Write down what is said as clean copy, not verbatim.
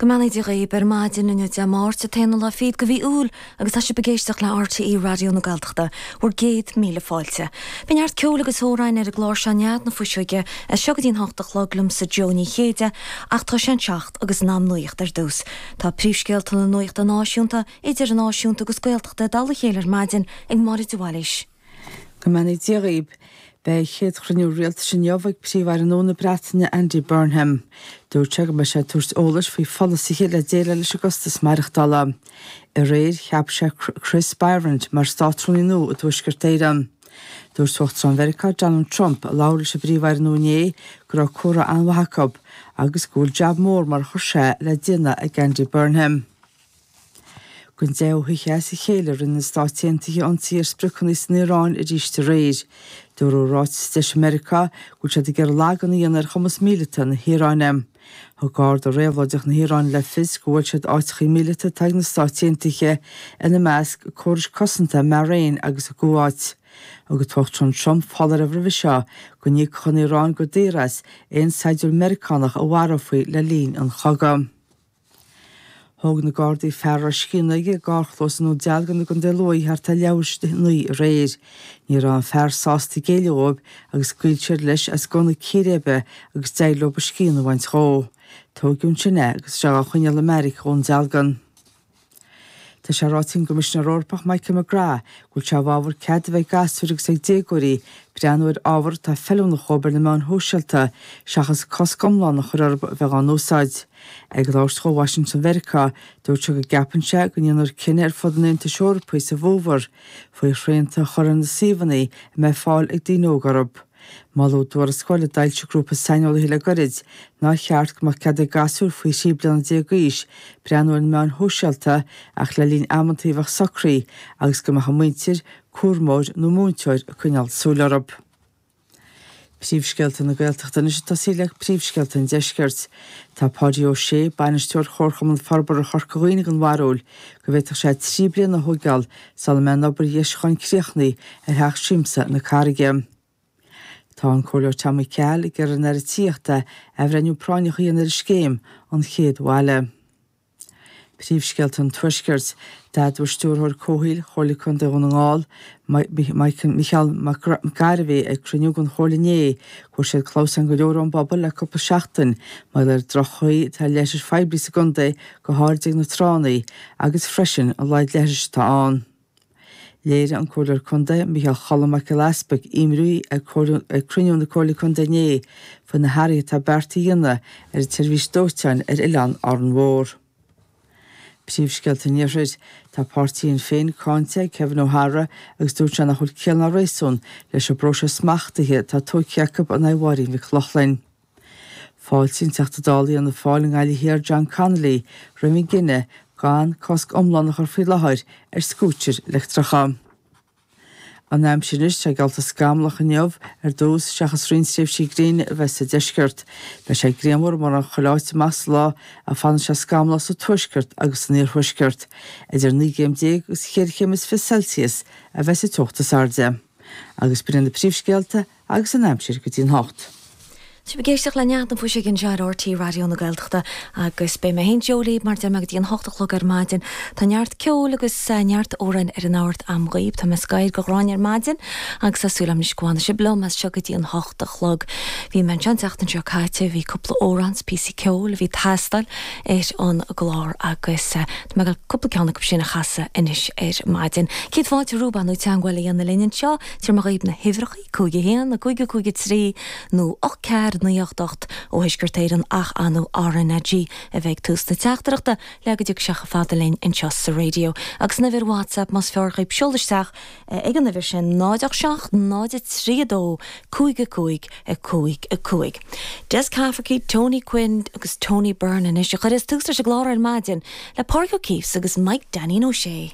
Go mbeannaí Dia dhaoib ar maidin inniu Dé Máirt, an t-aonú lá fichead de mhí Iúil agus tá sibh ag éisteacht le RTÉ Raidió na Gaeltachta, bhur gcéad míle fáilte. Beidh neart ceoil agus amhráin ar an gclár seo Nead na Fuiseoige as seo go dtí an hocht a chlog liomsa Joe Ní Chéide ach tá sé an seacht agus in am nuaíocht ar dtús. Tá príomhscéalta na nuachta náisiúnta, idirnáisiúnta agus Gaeltachta i dtoll a chéile ar maidin ag Máire de Bhailís. Go mbeannaí Dia dhaoib. Beidh a chéad chruinniú rialtais inniu ag Príomh-Aire nua na Breataine Andy Burnham. Dúirt sé go mbeidh sé ag tabhairt eolais faoi pholasaithe le déileáil leis an gcostas maireachtála. Aréir cheap sé Chris Bryant mar Státrúnaí nua i dTuaisceart Éireann. Dúirt Uachtarán Mheiriceá Donald Trump, a labhair leis an bPríomh-Aire nua inné, go raibh comhrá an-mhaith acu agus go bhfuil jab mór mar a chuir sé le déanamh ag Andy Burnham. Don deichiú hoíche as a chéile rinne na Stáit Aontaithe ionsaí ar spriocanna san Iaráin arís aréir. Dúradh i ráiteas a d'eisigh Meiriceá go bhfuil siad ag iarraidh lagan a dhéanamh ar chumas míleata na hIaráine. Thug Garda Réabhlóideach na hIaráine le fios gur bhuail siad áiteachaí míleata atá ag na Stáit Aontaithe, ina measc, córais cosanta i mBahrain agus i gCuáit. Thug an tUachtarán Trump foláireamh roimhe seo go n-íocfadh an Iaráin go daor as aon saighdiúir Meiriceánach a mharófaí le linn an chogaidh. Thóg na Gardaí fear a raibh scian aige i gcarrchlós i nDún Dealgan i gContae Lú thart ar leathuair tar éis a 9 aréir. Ní raibh an fear sásta géilleadh dóibh agus scaoil siad leis as gunna círéibe agus d'éirigh leo a scian a bhaint dhó. Tóigeadh ansin é agus tá sé á choinneáil i mbeairic Dhún Dealgan. Tá sé ráite ag an gCoimisinéir Eorpach Michael McGrath go bhfuil sé i bhfabhar cead a bheith ag gasúir agus ag déagóirí breathnú ar ábhar atá feiliúnach dhóibh ar na meáin shóisialta seachas cosc iomlán a chur orthu a bheith á n-úsáid. Ag labhairt dó i Washington Mheiriceá, dúirt sé go gceapann sé go ndéanfar cinneadh ar fud an Aontais Eorpaigh sa bhfómhar faoi shrianta a chur ar na suíomhanna a mbeidh fáil ag daoine óga orthu. Moladh i dtuarascáil a d'fhoilsigh grúpa saineolaithe le gairid nár cheart go mbeadh cead ag gasúir faoi 13 bliana d'aois breathnú ar na meáin shóisialta ach le linn amantaí a bheadh socraithe agus go mbeadh a muintir, cúramóir nó múinteoir ag coinneáil súil orthu. Príomhscéalta na Gaeltachta anois ag tosaí le príomhscéalta an Deiscirt. Tá Páidí Ó Sé, Bainisteoir Chomharchumann Forbartha Chorca Dhuibhne den bharúil go bhféadfadh sé 3 bliana a thóigeáil sula mbeidh an obair dheisiúcháin críochnaithe ar Theach Siamsa na Carraige. Tá an Comhairleoir Tommy Cahill ag iarraidh ar an Aire Tithíochta athbhreithniú práinneach a dhéanamh ar an scéim An Chéad Bhaile. Príomhscéalta an Tuaiscirt. D'admhaigh Stiúrthóir Comhshaoil Chomhairle Contae Dhún na nGall, Micheál Mac Gairbhí ag cruinniú den Chomhairle inné go bhfuair siad clamhsáin go leor ón bpobal le cúpla seachtain mar gheall ar droch-chaoi atá ar leithris phoiblí sa gcontae go háirid ag na tránna agus freisin a laghad leithris atá ann. Léirigh an Comhairleoir Contae, Micheál Cholm Mac Giolla Easpaig, imní ag cruinniú na Comhairle Contae inné faoi na hathruithe atá beartaithe a dhéanamh ar an tseirbhís dóiteáin ar oileán Árainn Mhór. Príomhscéalta an Iarthair. Tá páirtí Shinn Féin cáinte ag Kevin O'Hara agus dúirt sé nach bhfuil ciall ná réasún leis an bpróiseas smachtaithe atá tógtha acu in aghaidh Mháirín Mhic Lochlainn. Fáiltíonn Teachta Dála Fhianna Fáil i nGaillimh Thiar John Connolly roimh an gcinneadh gan cosc iomlán a chur faoi láthair ar scútair leictreacha. An aimsir anois, tá geallta scamallach inniu ar dtús seachas roinnt tréimhsí gréine a bheith sa deisceart. Beidh sé grianmhar i mórán chuile áit amach sa lá ach fanfaidh sé scamallach sa tuaisceart agus san iarthuaisceart. Idir 19 gcéim agus cheithre chéim is 20 Celsius a bheas an teocht is airde. Agus b'in iad na príomhscéalta. Agus an aimsir go dtí an hocht. Tá sibh ag éisteacht le Nead na Fuiseoige anseo ar RTÉ Raidió na Gaeltachta agus beidh mé féin Joe libh mar deir mé go dtí an hocht a chlog ar maidin. Tá neart ceoil agus neart amhráin ar an ord a'm dhaoibh. Tá mé scair go ghráinne ar maidin agus tá súil a'm anois go bhfanfaidh sibh liom as seo go dtí an hocht a chlog. Bhí mé anseo an tseachtain seo caite, bhí cúpla amhrán 's píosaí ceoil a bhí ag teastáil ar an gclár agus tá mé ag dul cúpla ceann acu sin a chasadh anois ar maidin. Céad fáilte romhaibh ar ndóigh teagmháil a dhéanamh linn anseo. Tabharfaidh mé dhaoibh na huimhreacha, 5 1 5 5 3 nó 8 4 9 8 8 ó Thuaisceart Éireann ach ar ndóigh RnaG a bheidh ag tús na teachtaireachta le go dtiocfaidh sé chomh fada linn anseo sa raidió. Agus an uimhir WhatsApp más fearr dhaoibh seol isteach ag an uimhir sin 0 8 7 0 3 2 5 5 5 5. Des Cafferkey, Tony Quinn agus Tony Byrne anois a chuirfeas tús leis an gclár ar maidin le Pádraig Ó Keefes agus Mike Danny Ó Sé.